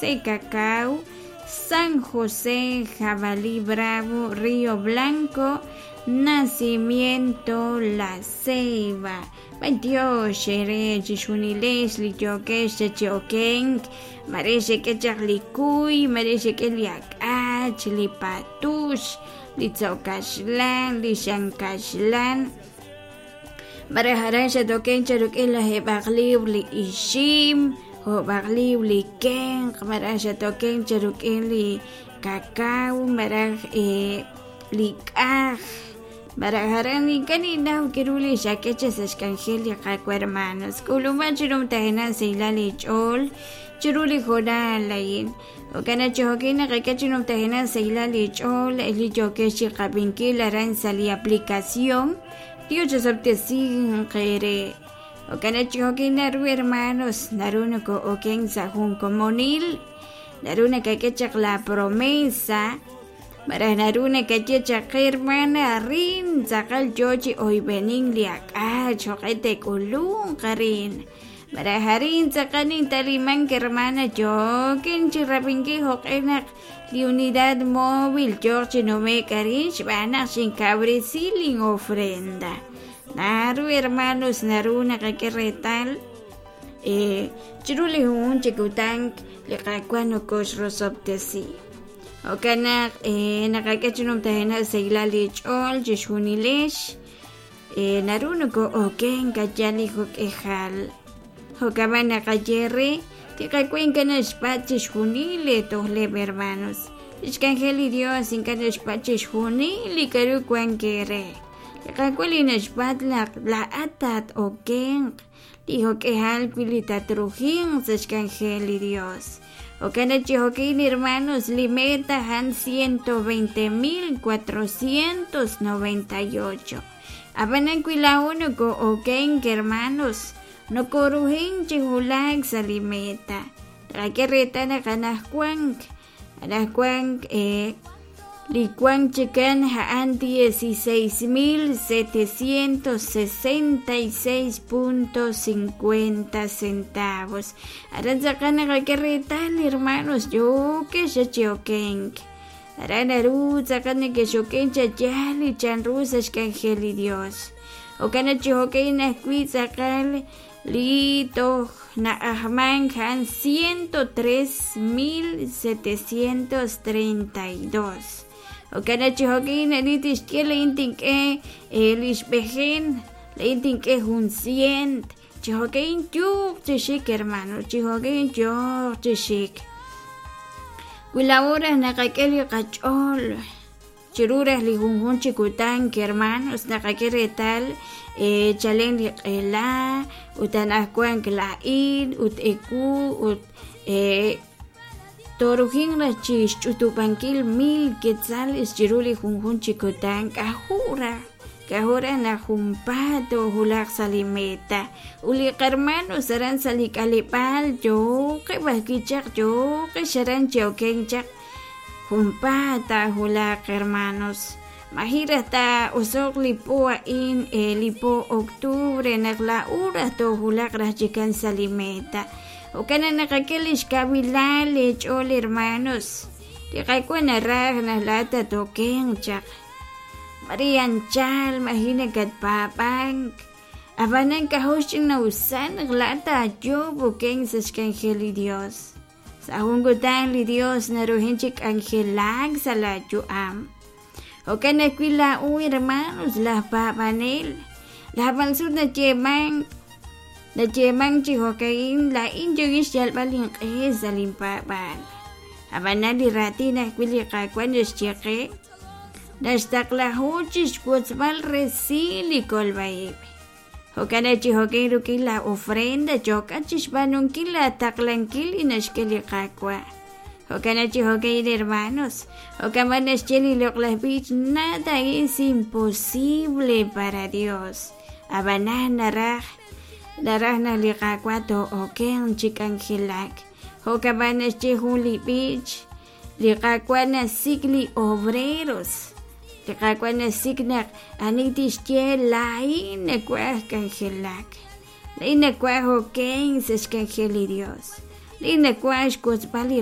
José Cacao, San José, Jabalí Bravo, Río Blanco, Nacimiento La Ceiba. B'antiox eere chixjunilex li yookex chi okenk, mare xek'e chaq li kuy, mare xek'e li ak'ach, li patux, li tzo' kaxlan, li xan kaxlan. Mare aran xatoken cha rik'in lajeeb'aq libr li ixim, jo'b'aq libr li kenq', malaj xatoken cha rik'in li kakao, malaj li k'aj, malaj aran ink'a' ninnaw k'aru li xak'e chaq sa' xk'anjel li Qaawa' hermanos. K'uluman chi numtajenaq xsahilal eech'ool chiru li hoonal a'in. Jo'kan naq chi jo'kin naqak'e chi numtajenaq xsahilal eech'ool li yookex chi qab'inkil aran sa' li aplicación. Dios osob'tesinq eere. Jo'kan naq chi jo'kin naru hermanos, naru noko'oken sa' jun komonil, naru nakak'e chaq la promesa, malaj naru nakaye chaq qe hermana arin tz'aqal yoo chi oyb'enink li ak'ach jo'q'e te'k'ulunq arin. Malaj arin tz'aqal nintalimank hermana yookin chi rab'inkil jo'q'e naq li unidad móvil yooq chi nume'k arin xb'aan naq xinkawresi lin ofrenda. Naru hermanos naru naqak'e reetal chiru li junjunq chi kutan li Qaawa' nokoxrosob'tesi. Jo'kan naq naqak'e chi numtajenaq xsahilal li ch'ool chixjunilex naru noko'okenk ayal li jo'k'ejal. Jo'kan b'an naqaye re li Qaawa' ink'a' naxpatz' chixjunil li tojleb' hermanos. Lix k'anjel li Dios ink'a' naxpatz' chixjunil li k'aru wank eere. Li Qaawa' li naxpatz' naq laa'at tat-okenq li jo'k'ejal wi' li tatrujinq sa' xk'anjel li Dios. Jo'kan naq chi jo'kin hermanos li meta a'an 120,498. Ab'anan wi laa'o noko'okenk hermanos, nokorujink chi wulak sa' li meta. Naqak'e reetal naq anajwank anajwank li wank chikan a'an 16,766.50 centavos. Aran tz'aqal naqak'e reetal hermanos yookex chi okenk. Aran naru tz'aqal nekexokenk chi yaal li chanru sa' xk'anjel li Dios. Jo'kan naq chi jo'kan ajwi' tz'aqal li toj na'ajmank a'an 103,732. Jo'kan naq chi jo'kan ani tixye laa'in tink'e li xb'ejen, laa'in tink'e jun cient. Chi jo'kan yooq chi xik hermano, chi jo'kan yooq chi xik. Wi laa'o raj naqak'e li qach'ool chiru raj li junjunq chi kutan hermanos naqak'e reetal chalen li q'ela ut anajwank laa'in ut ewu ut torujin raj chi xch'utub'ankil 1000 quetzales chiru li junjunq chi kutan k'aju' raj k'aju' raj naq junpaat toowulaq sa' li meta. Ut li qarmanos aran sa' li k'aleb'aal yooqeb' ajwi' chaq yooqex aran chi okenk chaq junpaat taawulaq hermanos. Maji' raj taa'oso'q li po a'in li po octubre naq laa'o raj toowulaq raj chikan sa' li meta. Jo'kan naq naqak'e li xkawilal eech'ool hermanos. Li Qaawa' naraj naq laa'at tatokenq chaq. Mare anchal maji' nakatpaab'ank. Ab'anan k'ajo' xch'ina'usal naq laa'at taayoob' okenk sa' xk'anjel li Dios. Sa' jun kutan li Dios naruhin chi k'anjelak sa' laayu'am. Jo'kan ajwi' laa'o hermanos laj paab'anel. Laj sut nayeemank nayeemank chi jo'ka'in laa'in yookin xyalb'al inq'e sa' linpaab'aal. Ab'anan li raatin ajwi' li Qaawa' naxye qe naxtaqlahu chi xwotzb'al resil li kolb'a-ib'. Jo'kan naq chi jo'kan rik'in la ofrenda yookat chi xb'aanunkil laataqlankil li naxk'e li Qaawa'. Jo'kan naq chi jo'kan hermanos, jo'kan b'an naxye li loq'laj b'ich nada es imposible para Dios. Ab'anan naraj naraj naq li Qaawa' too'okenq chi k'anjelak. Jo'kan b'an naxye jun li b'ich li Qaawa' nasik' li obreros. Li Qaawa' nasik' naq ani tixye laa'in nawaj k'anjelak. Laa'in nawaj okenk sa' xk'anjel li Dios. Laa'in nawaj xwotzb'al li.